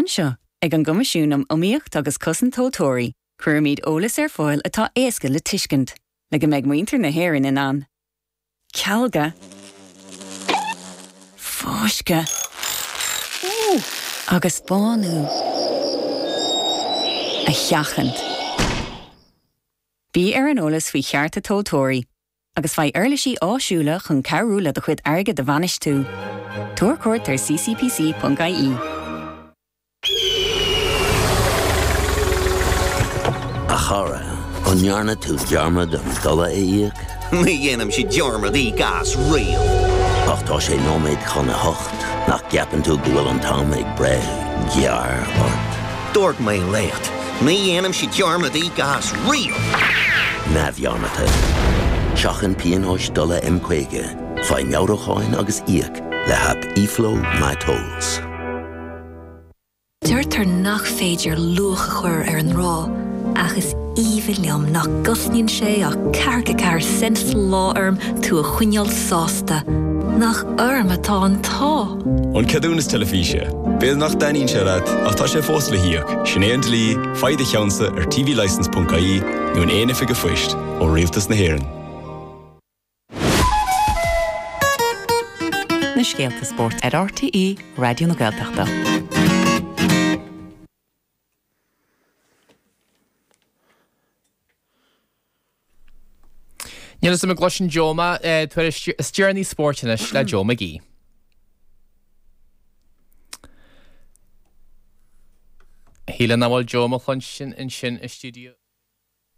Anseo, ag an gCoimisiún um Iomaíocht agus Cosaint Tomhaltóirí, cuirimid eolas ar fáil atá éasca le tuiscint, le go mbeidh muintir na hÉireann in ann cealga, fáisceadh agus bánú a sheachaint. Bí ar an eolas faoi chearta tomhaltóirí agus faigh uirlisí áisiúla chun cabhrú le do chuid airgid a bhainistiú. Tabhair cuairt ar ccpc.ie. A chara, an ndearna tú dearmad an dola a íoc? Ní dhéanaimse dearmad íoc as riamh. Ach tá sé nóiméad chun a hocht, nach gceapann tú go bhfuil an t-am ag breith gearr ort? Dúirt mé leat, ní dhéanaimse dearmad íoc as riamh! Neamhdhearmadta. Seachain pionóis dola M50, faigh meabhrúcháin agus íoc le haip eFlow MyTolls. Deirtear nach féidir luach a chur ar an ngrá, ach is aoibhinn liom nach gcosnaíonn sé ach ceathracha ceathair cent sa lá orm tú a choinneáil sásta. Nach orm atá an t-ádh! An ceadúnas teilifíse. B'fhéidir nach dtaitníonn sé leat, ach tá sé fós le híoc. Sin é an dlí, faigh do cheannsa ar tvlicence.ie nó in aon oifig an phoist, ó Rialtas na hÉireann. Na scéalta spóirt ar RTÉ Raidió na Gaeltachta. Níl a fhios agam an gcloiseann Joe mé. Tuairisc is deireanaí spóirt anois le Joe McGee. Shílfeá nach bhfuil Joe mo chluinstin ansin i stiúideo.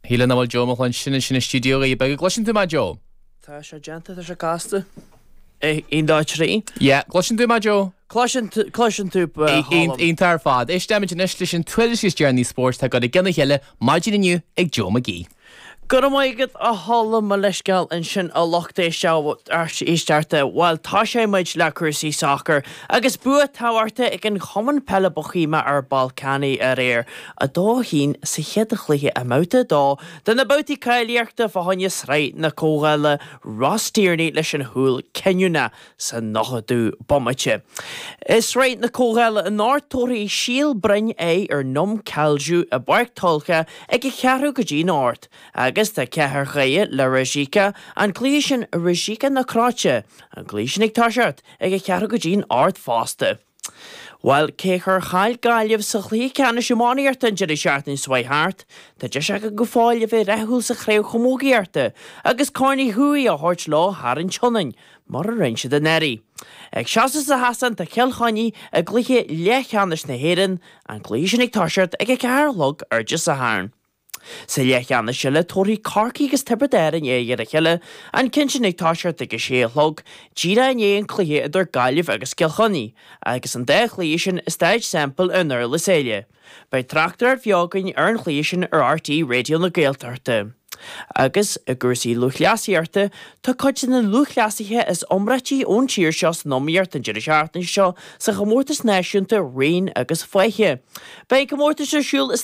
Shílfeá nach bhfuil Joe mo chluinstin ansin i stiúideo Dhoirí Beaga. Gcloiseann tú mé, Joe? Tá sé déanta, tá sé casta. 1, 2, 3. Yeah, gcloiseann tú mé, Joe? Cloiseann, cloiseann tú, a Cholm. Iontach ar fad. Éistfimid anois leis an tuairisc is deireanaí spóirt atá curtha i gcionn a chéile maidin inniu ag Joe McGee. Go raibh maith agat a Cholm, mo leithscéal ansin a lucht éisteachta. Bhuel, tosóidh muid le cúrsaí sacair agus bua tábhachtach ag an Chumann Peile Bohemia ar Ballkani aréir. 2-1 sa chéad chluiche i mbabhta 2 de na babhtaí cáilíochta fá choinne Sraith na Comhdhála Ross Tierney leis an chúl cinniúnach sa 90ú bomaite. I Sraith na Comhdhála anocht tabharfaidh Síol Broin aghaidh ar Num Kalju i bPáirc Tulcha ag a ceathrú go dtí'n ocht agus tá Cathair Dhoire le Rijeka, an cluiche sin i Rijeka na Cróite, an cluiche sin ag toiseacht ag a ceathrú go dtí'n ocht fosta. Bhuel, cé gur chaill Gaillimh sa chluiche ceannais iománaíochta an deireadh seachtaine seo chuaigh thart, tá deis acu go fóill a bheith rathúil sa chraobh chamógaíochta agus Corn Uí Chuaig á thabhairt leo thar an tSionainn, mar a rinne siad anuraidh. Ag seasamh sa sheastán tá Cill Chainnigh i gcluiche leathcheannais na hÉireann, an cluiche sin ag toiseacht ag a ceathair a chlog ar Dé Sathairn. Sa leathcheannais eile, tabharfaidh Corcaigh agus Tiobraid Árann aghaidh ar a chéile, an ceann sin ag toiseacht ag a sé a chlog, díreach i ndiaidh an cluiche idir Gaillimh agus Cill Chainnigh, agus an dá chluiche sin i Staid Semple i nDurlas Éile. Beidh tráchtaireacht bheo againn ar an chluiche sin ar RTÉ Raidió na Gaeltachta. Agus, i gcúrsaí lúthchleasaíochta, tá cuid de na lúthchleasaithe is iomráití ón tír seo san iomaíocht an deireadh seachtaine seo sa chomórtas náisiúnta raoin agus faiche. Beidh an comórtas ar siúl i.